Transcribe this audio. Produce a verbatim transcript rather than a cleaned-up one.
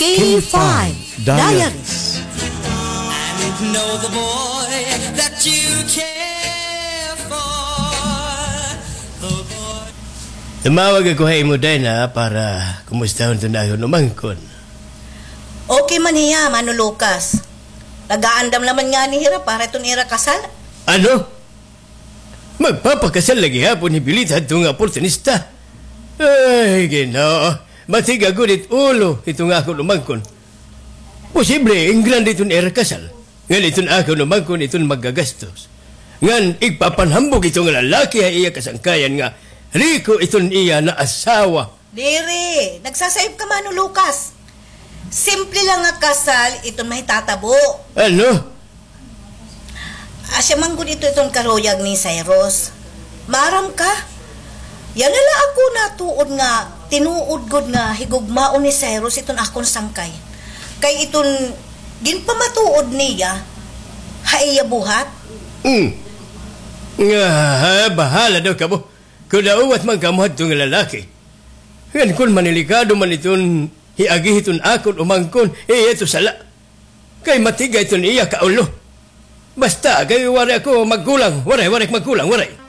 K five Diaries. Diaries. I didn't know the boy that you care for. The boy. Tumawag ako ha imo, Dina, para kumustahon iton akon umangkon. Okay man hiya, Mano Lucas. Nagaandam naman ngani hira para iton ira kasal. Ano? Magpapakasal la gihapon hi Belita hadto nga oportunista? Ay, Ginoo. Matiga gud it ulo hiton akon umangkon. Posible, ingrande iton ira kasal. Ngan iton akon umangkon iton maggagastos. Ngan igpapanhambog ito nga lalaki ha iya kasangkayan nga riko iton iya naasawa. Diri, nagsasayop ka, Mano Lucas. Simple lang nga kasal iton mahitatabo. Ano? Asya man gud ito iton karuyag ni Cyrus. Maaram ka? Yana la ako natuod nga tinuod gud nga higugmaon ni Cyrus iton akon sangkay. Kay iton ginpamatuod niya ha iya buhat. Hmm. Nga, ha, bahala daw kamo. Kudaawat man kamo hadto nga lalaki. Ngan kon manilikado man iton hiagi hiton akon umangkon, eh, ito sala. Kay matiga iton iya kaulo. Basta, kay waray ako magkulang. Waray, waray magkulang, waray.